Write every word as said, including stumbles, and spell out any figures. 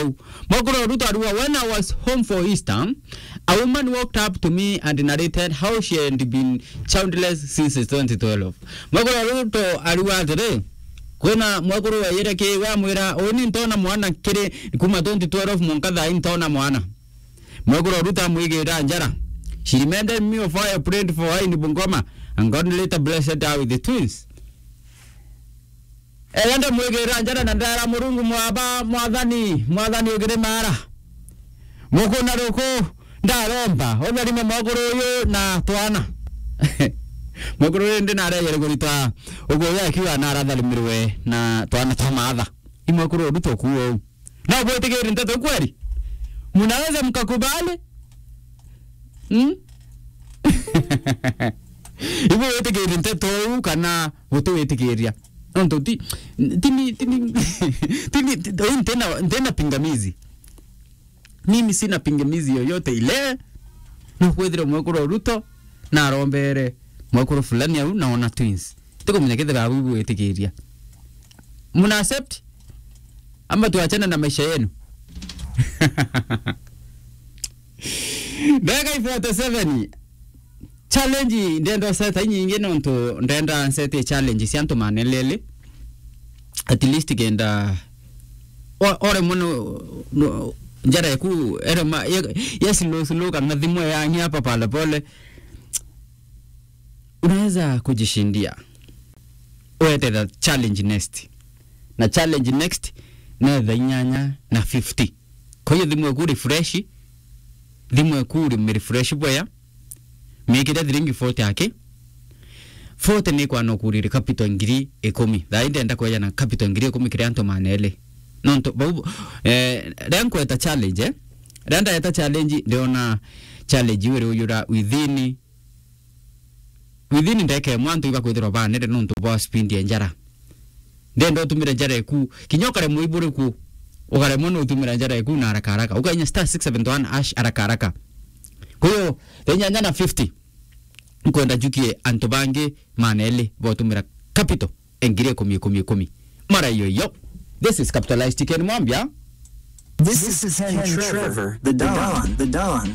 Mwekuru Ruto ariuga, "When I was home for Easter, a woman walked up to me and narrated how she had been childless since twenty twelve." Mwekuru Ruto ariuga atiri, kwina mwekuru weyire ki, we amwira, "Uni ntona mwana kiri kuma twenty twelve mwanka thaa ii ntona mwana." Mwekuru Ruto amwigirira njara. "She reminded me of how I prayed for her in Bungoma, and God later blessed her with the twins." Eya ndamwigirira njara na ndera Murungu, "Mwaba, Mwathani, Mwathani ugire mara. Mukuna ruku ndaromba, utharime mwekuru uyu na twana." Mwekuru uyu ndi nareyere kurita uguo uyu akiuga naratharimirwe na twana twa maatha. I mwekuru Ruto kuo. Na bwitikiri nteto kweli? Mnaweza mkakubali? Hmm? Ibu witikiri nteto uu kana butiwitikiria? Nontu ti, tini, tini, tini, ti-, uu ntina, ntina pingamizi. Mimi sina pingamizi yoyote ile. No kwithira mwekuru Ruto na arombere mwekuru fulani au na ona twins. Tikumenya kethira abu ibu witikiria. Muna accept? Ama tuachane na maisha yenu? Ndagika i forty-seven. Challenge ndenda seta nyingi nontu ndenda nsete challenge cia antu manelele. At least kenda o-, ore muno, no, njara yaku ere ma, ya, ya slow slow kana thimu yangi hapa pale pale. Unaweza kujishindia. Wete the challenge next. Na challenge next ne thaa inyanya na fifty. Kwa hiyo thimu eku refresh, thimu eku ri refresh bwea, mikire thiringi forty aki. Forty ni kwana ukurire capital ngiri ikumi. Thaa ii ndenda kweja na capital ngiri ikumi kiri antu maneli. Nontu bau, eh, ria nkweta challenge, eh? Ria ndaeta challenge, ndiona challenge iu iri uyura within, within ndeka imwe antu ibakwithirwa banere nontu bwa speed ya njara. Ndenda utumire njara eku, kinya ukaremwa iburi ku, ukaremwa ni utumira njara eku na haraka haraka. Ukainya star six seven one hash haraka haraka. Kwa hiyo, thaa inyanya na fifty, nkwenda njukie antu bangi maneli botumira capital engiri ikumi, ikumi, ikumi. Mara iyo iyo. This is Capitalized Ken Mwambia. This is Henry Trevor, the Don, the Don.